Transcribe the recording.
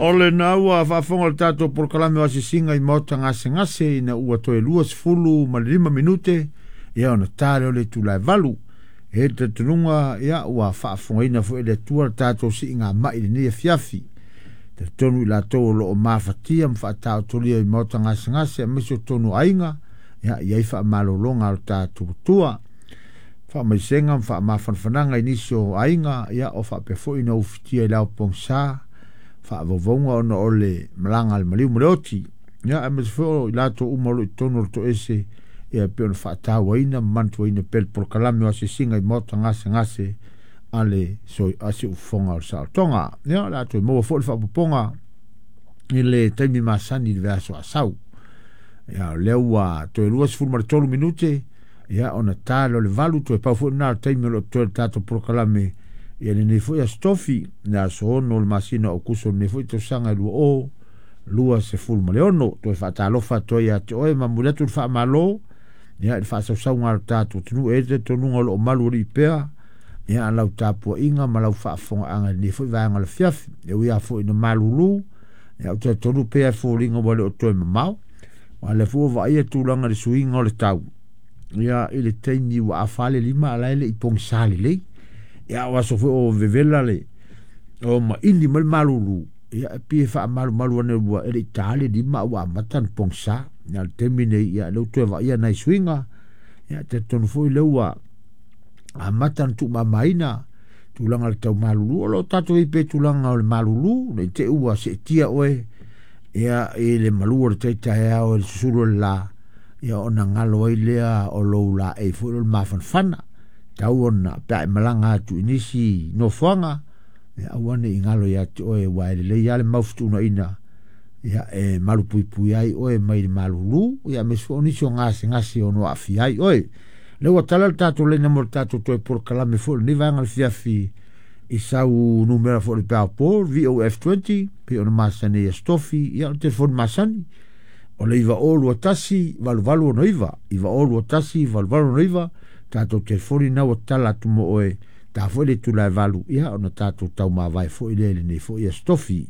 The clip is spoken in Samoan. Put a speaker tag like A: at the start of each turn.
A: O lena ua faafofoga le tatou polokalame o asiasiga i maota gasegase ina ua toe 25 minute ia ona ta lea o le itula e 8. E talitonuga ia ua faafofogaina foi e le Atua le tatou siigamai i lenei afiafi. Talitonu i latou o loo mafatia ma faataotolia i maota gasegase aemaise o totonu o aiga, ia i ai faamalologa a lo tatou Atua. Faamaisega ma faamafanafanaga i nisi o aiga, ia o faapea foi na ufitia i le ao pogisa, faavauvauga ona o le malaga a le maliu ma le oti. Ia aemaise foi o i latou uma o lo o i totonu o le toese, ia e pei ona faatauaina ma manatuaina pea le polokalame o asiasiga i maota gasegase a le siufofoga o le saolotoga. Ia o le a toe maua foi le faaopoopoga i le taimi masani i le vaiaso asau. Ia o lea ua toe 23 minute ia ona ta lea o le 8, toe pau foi lena o le taimi o lo o totoe le tatou polokalame ia lenei foi aso tofi, le aso 6 o le masina o Aokuso lenei foi tausaga e 2026. Toe faatalofa atu ai ia te oe ma momoli atu le faamalo ia i le faasausauga a lo tatou atunuu. E i ai le talitonuga o lo o malu alii pea ia lau tapuaiga ma lau faafofogaaga i lenei foi vaega o le afiafi. E ui lava foi ina malulu, ia ou te talitonu pea e foliga ua le o toe mamao, aua o lea foi ua vaaia tulaga i le suiga o le tau. Ia i le taimi ua afa le lima a la e le i pogisa lelei. Ia o aso foi o vevela le o maini mai le malulu, ia e pei e faamalumalu ane ua e le i ta le lima a ua amata ona pogisa. Ia o le taimi nei, ia lea ua toe vaaia nai suiga, ia talitonu foi lea ua amata ona tuumamaina tulaga o le tau malulu. O lo o tatou i ai pea i tulaga o le malulu, ne i te i ua seetia oe ia i le malu o le tai taeao i le susulu o le la, ia ona galo ai lea o lou laei foi o le mafanafana. Tau ona pe a e malaga atu i nisi nofoaga, ia aua ne i galo ia te oe, aua e lelei lava le mau fetuunaiga ia e malupuipui ai oe mai le malulu, ia aemaise foi o nisi o gasegase ono aafia ai oe. Lea ua tala le tatou laina mo le tatou toe polokalame foi o lenei vaega o le afiafi i sau numera foi o le peaopo VOF20 pei ona masani ai aso tofi, ia o le telefoni masani o le 9021 8869, 9021 8869, tatou telefoni na ua tatala atu mo oe, ta foi le itula e 8, ia ona tatou taumavae foi lea i lenei foi aso tofi.